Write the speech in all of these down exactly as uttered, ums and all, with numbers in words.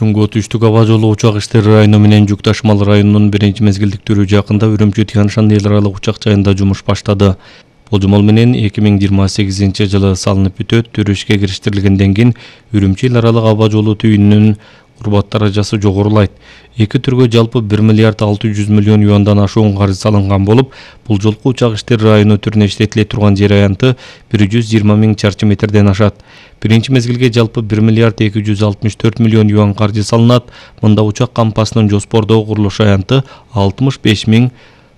Чуңгу Түштүк аба жолу учак иштери району менен жүк ташымал районунун биринчи мезгилдиктөрү жакында Үрүмчү Тяньшан эл аралык учак жайында жумуш баштады. Болжомол менен эки миң жыйырма сегизинчи жылы салынып бүтөт. Түрү ишке кириштирилгенден кийин Үрүмчү эл аралык аба жолу түйүнүнүн урбат даражасы жогорулайт. Эки түргө жалпы бир миллиард алты жүз миллион юандан ашуун каржы салынган болуп, бул жолку учак иштери району түрүнө иштетиле турган жер аянты бир жүз жыйырма миң чарчы метрден ашат. Биринчи мезгилге жалпы бир миллиард эки жүз алтымыш төрт миллион юан каржы салынат. Мында учак кампасынын жоспордогу курулуш аянты алтымыш беш миң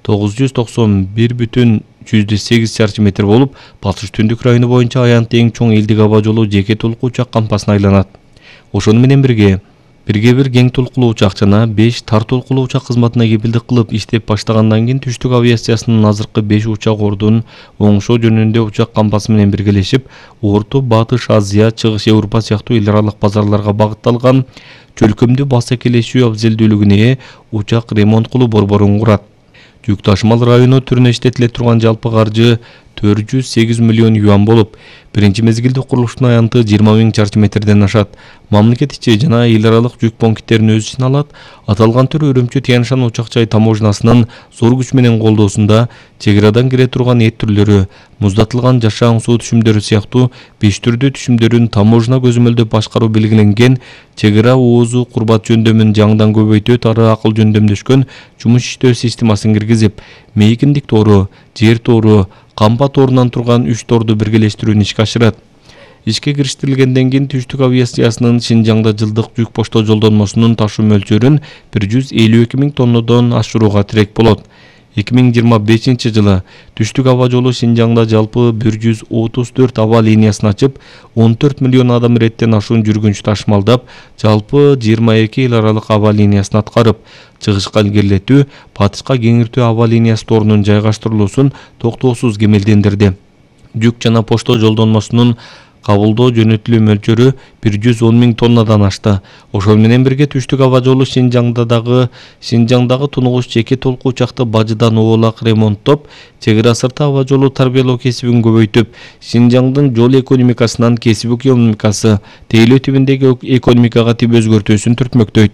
тогуз жүз токсон бир бүтүн жүздө сегиз чарчы метр болуп, Батыш Түндүк району боюнча аянты эң чоң элдик аба жолу жеке толку учак кампасына айланат. Ошону менен бирге Бирге бир кең толкулуу учак жана беш тар толкулуу учак кызматына кепилдик кылып иштеп баштагандан кийин Түштүк авиациясынын азыркы беш учак ордун оңшоо жөнүндө учак кампасы менен биргелешип, Орто, Батыш, Азия, Чыгыш Европа сыяктуу эл аралык базарларга багытталган чөлкөмдүү басакелешүү абзелдүүлүгүнө ээ учак ремонт кылуу борборун курат. Жүк ташымал району түрүнө иштетиле турган жалпы каржы төрт жүз сегиз миллион юан болуп, биринчи мезгилде курулуштун аянты жыйырма миң чарчы метрден ашат. Мамлекет ичи жана эл аралык жүк пункттерин өз ичине алат. Аталган түр Үрүмчү Тяньшан учак жай таможнасынын зор күч менен колдоосунда чек арадан кире турган эт түрлөрү, муздатылган жашаан суу түшүмдөрү сыяктуу беш түрдүү түшүмдөрүн таможна көзөмөлдөп башкаруу белгиленген чек ара оозу курбат жөндөмүн жаңдан көбөйтөт ары акыл жөндөмдөшкөн жумуш иштөө системасын киргизип, мейкиндик тоору, жер тоору, кампа тоорунан турган үч тоорду биргелештирүүнү ишке ашырат. Ишке кириштирилгенден кийин Түштүк авиациясынын Шинжаңда жылдык жүк почта жолдонмосунун ташуу мөлчөрүн бир жүз элүү эки миң тоннодон ашырууга тирек болот. эки миң жыйырма бешинчи жылы Түштүк аба жолу Шинжаңда жалпы бир жүз отуз төрт аба линиясын ачып, он төрт миллион адам иреттен ашуун жүргүнчү ташымалдап, жалпы жыйырма эки эл аралык аба линиясын аткарып, чыгышка илгерилетүү, батышка кеңиртүү аба линиясы тоорунун жайгаштырылуусун токтоосуз кемелдендирди. Жүк жана почта жолдонмосунун кабылдоо жөнөтүлүү мөлчөрү бир жүз он миң тоннадан ашты. Ошол менен бирге Түштүк аба жолу Шинжаңдагы Шинжаңдагы тунугуш жеке толку учакты бажыдан оолак ремонттоп, чек ара сырты аба жолу тарбиялоо кесибин көбөйтүп, Шинжаңдын жол экономикасынан кесип экономикасы, тейлөө тибиндеги экономикага тип өзгөртүүсүн түртмөктөйт.